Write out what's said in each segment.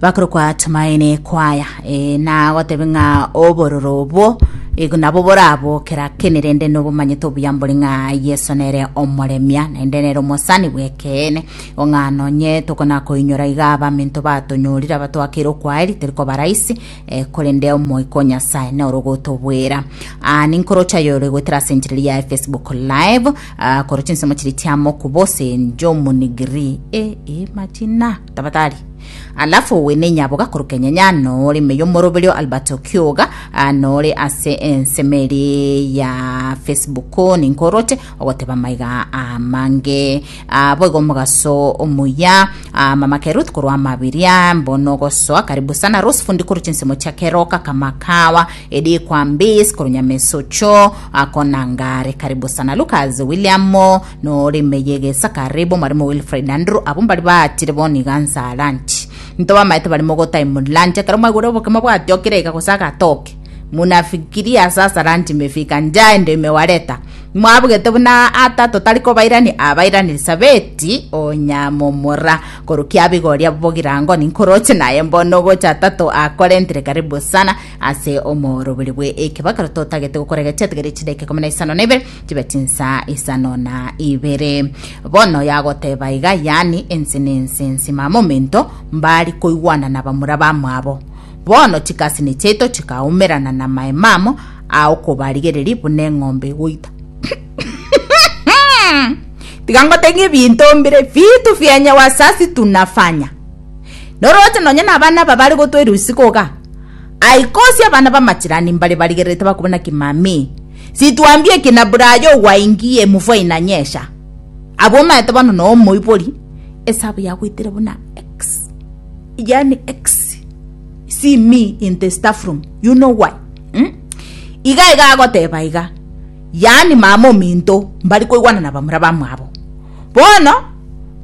Bakorokwa Tumaini Choir eh, na gotebe ng'a obororo obwo igo nabo borabokera kene rende nobomanyete obuya mbore ng'a Yeso nere omoremia naende nere omosani bw'ekeene igo ng'a nonye tokona koinyora iga abaminto batonyorire abatwakeire okwaeri teri koba rahisi eh, korende omoika o Nyasaye noro ogotobwera. Ah, ninkoroche aye ore goetera ase enchera eria ya Facebook live ah, koroche ensemo chiria chia Mokubose Njomunigiri eh, eh, machina tafadhali Alafu owe nenyaboga korwa kenyenya nore ime y'omoroberio Albert Okioga ah, nore ase ensemo eri ya Facebook ninkoroche ogoteba maiga amange Ah, boigo omogaso omuya Ah, mama Keruth korwa amabiria mbono ogosoa karibu sana Rose fundi korwa chinsemo chia Keroka Kamakawa Edi Kwambis korwa Nyamesocho Akonangare karibu sana Lucas William Nore ime y'egesa karibu Mwalimu Wilfred Andrew abwo mbari baachire bono iga nsa lunch ntobamaete bari mogotime lunch ekero mwaigure obokima bwatiokire iga gose agatoke munafikiria sasa lunch imefika njaa ndio imewaleta mwabugete buna ata totari kobairani abairani Elisabeti onyamomora korukia abigoria bogirango ninkoroche naye mbono ogocha tato akorentire karibu sana ase omoroberi bwe ekebakero totagete gokora gechiatigere chidaika ikomi na isano na ibere chibe chinsa isano na ibere. Bono yagoteba iga, yaani ense nense ensima momento mbari koigwana na bamura bamwabo. Bono chikasini chiaito chikaumerana na maemamo a okobarigereria buna eng'ombe egoita. Tiga ngotebie ebinto mbire vitu vyenye wasasi tunafanya. Noroche nonya nabana aba bare gotwerwa isiko iga. Aikosi abana b'amachirani mbare barigererete bakobuna ki mami. Situambie kina Brayo waingie mvua inanyesha. Abwo omanyete bono no omoibori esabu yagoitire buna X. Yani X. See me in the staff room. You know why? Mm? Iga iga agoteba iga. Yani mama ominto mbari koigwana na bamura bamwabo. Bono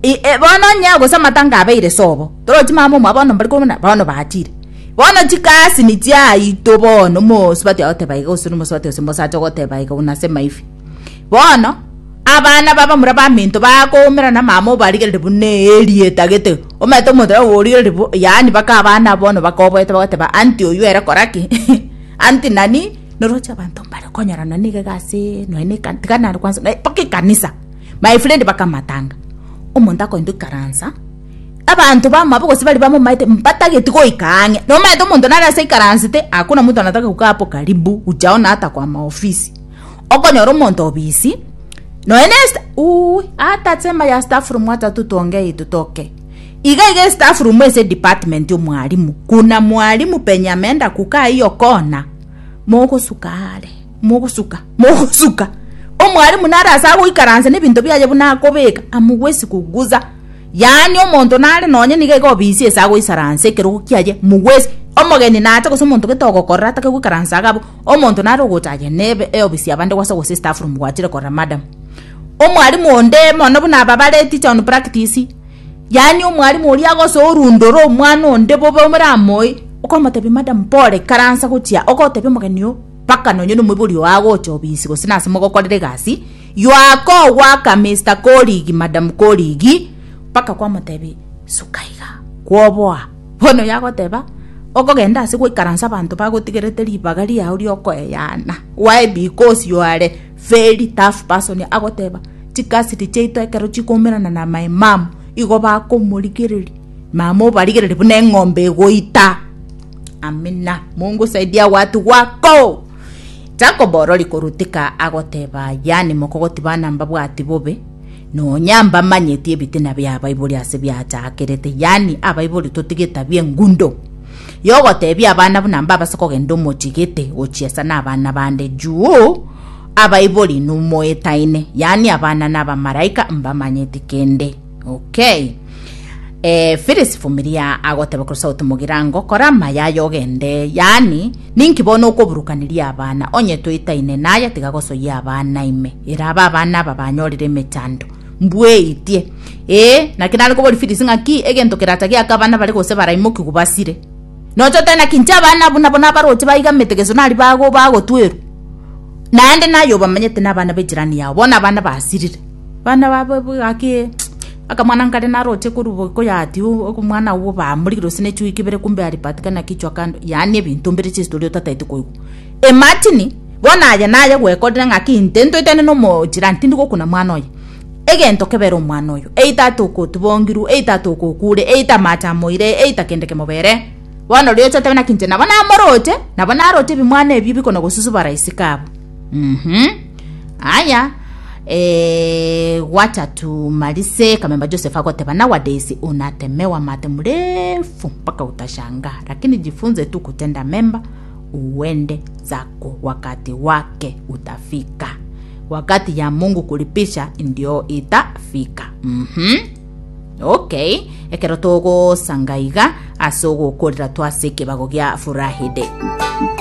I- e, bono onye gose amatanga abeire sobo torochi mama omwabo bono mbari komona bono bachire bono chikasini chiaito bono mosubati agoteba iga gose nomosubati gose mosacha ogoteba iga unasema hivi bono abana babamura baminto bakoumerana mama obarigereria buna erieta gete omanyete omonto origereria bu yaani mpaka abana bono bakoboete bagoteba aunty oywo ere kora ki aunty nani noroche abanto mbare konyorana niga egasi nonya na ekani tiga nare kwanza mpaka ekanisa. My friend bakamatanga omonto akoenda oikaransa abanto bamwabo gose baria bamomaete mbatageti goika ang'e nomaete omonto nare ase aikaransete hakuna mtu anataka kukaa hapo karibu hujaona hata kwa maofisi okonyora omonto obisi nonya na esta uuwi hata sema ya staff room hata tu tuongee tutoke iga iga estaff room ase edepartment omwalimu kuna mwalimu penye ameenda kukaa hiyo kona mogosuka are. Mogosuka, mogosuka. Omwalimu nare ase agoikaransa nebinto biaye buna akobeka, amogwesi kogusa. Yaani omonto nare nonye niga iga obisi ase agoisaransa ekerogo kiaye, mogwesi. Omogeni nache gose omonto gete ogokorora atake goikaransa iga abwo, omonto nare ogocha aye nebe eobisi yabande gwase gose estaff room gwachire korora madam. Omwalimu onde mono buna aba bare teacher on practice, yaani omwalimu oria agosoa orundore omwana onde bobe oramoe, okomotebia madam pole ikaransa gochia, ogotebia omogeni oo. Mpaka nonye nomoibori oo agocha obisi gose nase mogokorera egasi, you are co-worker Mister Korigi, Madam Korigi, mpaka kwamotebia suka iga, kwoboa. Bono yagoteba, okogenda ase goikaransa abanto bagotigerete ribaga riao riokoeyana, why because you are very tough person agoteba chikasiri chiaito ekero chikoumerana na my mum, igo bakomorigereria, mama obarigereria buna eng'ombe egoita. Amina. Mungu saidia watu wako. Jacob orori korutika agoteba yani mokogoti bana mbabwati bobe nonya mbamanyeti ebitina bia abaibori ase biachakerete yani abaibori totige etabia engundo yogotebia abana buna mbabase kogenda omochi gete gochiesa na abana bande juu abaibori numoetaine yani abana na abamaraika mbamanyeti kende Okay. Eh, Phyllis Vumilia agoteba korwa South Mugirango kora amaya aye ogende yaani ninki bono okoburukaniria abana onye toitaine naye tiga gosoyia abana ime erabe abana aba banyorire emechando mbweitie ee naki nare kobori Phyllis ng'aki egento keracha giaka abana bare gose baraimokigwa basire nocha otebe naki inche abana abwo nabo nabaroche baigamete gese nari bago bagotwerwa naende naye obamanyete na abana b'ejirani yao bono abana basirire. Abana babo gaki. Akamwana nkare naroche korwa boiko yati omwana obwo bamorigire gose ne chiwiki ibere kumbe alipatikana kichwa kando yaani ebinto mbire chistori otataeti koigwa. Imagine bono aye naye gwekorire ng'aki inte ntoetane na omochirani tindi gokuna mwana oye. Egento kebere omwana oyo, either atokotubongirwe, either atokokure, either amache amoire, either kende kemobere. Bono riria ocha otebe naki inche nabo namoroche, nabo naroche ebimwana ebio bikona gosusubara isiko abwo. Uhum. Aya, eh, wacha tumalize Kamemba Joseph agoteba nowadays unatemewa mate mrefu mpaka utashangaa, lakini jifunze tu kutenda mema uende zako, wakati wake utafika. Wakati ya Mungu kulipisha ndio itafika. Mhm. Okay, ekero togosanga iga ase ogokorera twase ekebago gia Furahi Day.